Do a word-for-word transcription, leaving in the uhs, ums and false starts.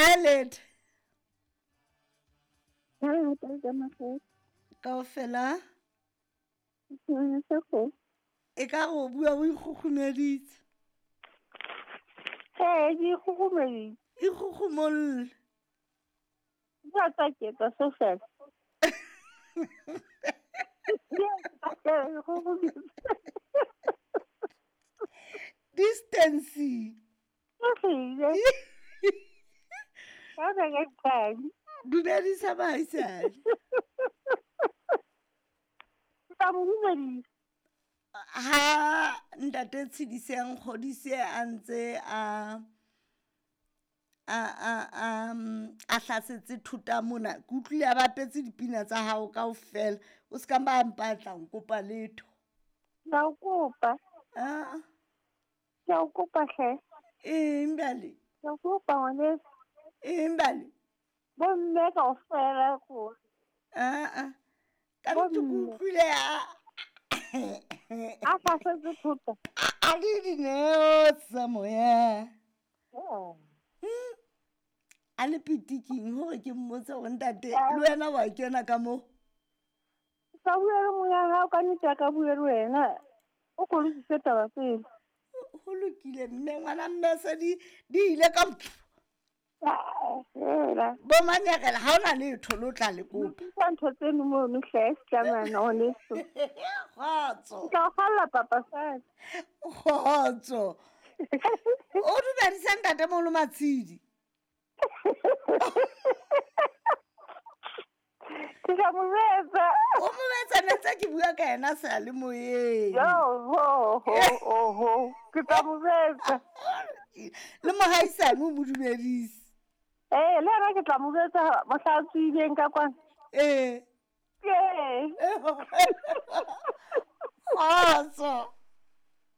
A let. Ha ta ka makgethe. Kaofela. Ngwana sa go. E ka re o bua o ikgukgumeditse. Ee, ke ikgukgumeditse. Ikgukgumolle. Ba tsa ke tsa so fela. Distancing. Ka ba ka tshang. Dumedisa baahisane. Ka mo dumedisa. Ha ntate Tshediseng Kgodise a ntse a a a a mm, a hlasetse thota mona, ke utlwile a bapetse dipina tsa hao kaofela. O se ka ba mpatla nkopa letho. Ke a o kopa. Ah, Ke a o kopa hle. Eng bjale? Ke a o kopa ngwaneso. Eng bjale? Bomme kaofela ko. Ah ah. Ka nnete ke Bomme. utlwile a A hlasetse thota. A le dineo tsa moya. Oh. Hmm. A le pitiking hore ke mmotse hore ntate le wena wa kena ka mo. Ka bua le moya hao ka nnete a ka bua le wena. O ko lokise taba pele. Ho lokile mme, ngwana mme, se di di ile ka Fela. Bo manyakela ha ona letho le o tla le kopa. Lokisa ntho tseno mono hle setlamana ngwaneso. Kgotso. Ke tla o kgalla papa sane. Kgotso. O dumedise ntate moholo Matshidi. Ke tla mo jwetsa. O mo jwetsa ne ntse ke bua ka yena seyalemoyeng. Yo ho ho ho ho. Ke tla mo jwetsa. Le mohaisane o mo dumedise. Eh, le yena ke tla mo jwetsa mohla a tsohileng ka kwana. Ee. Ee. Kgotso.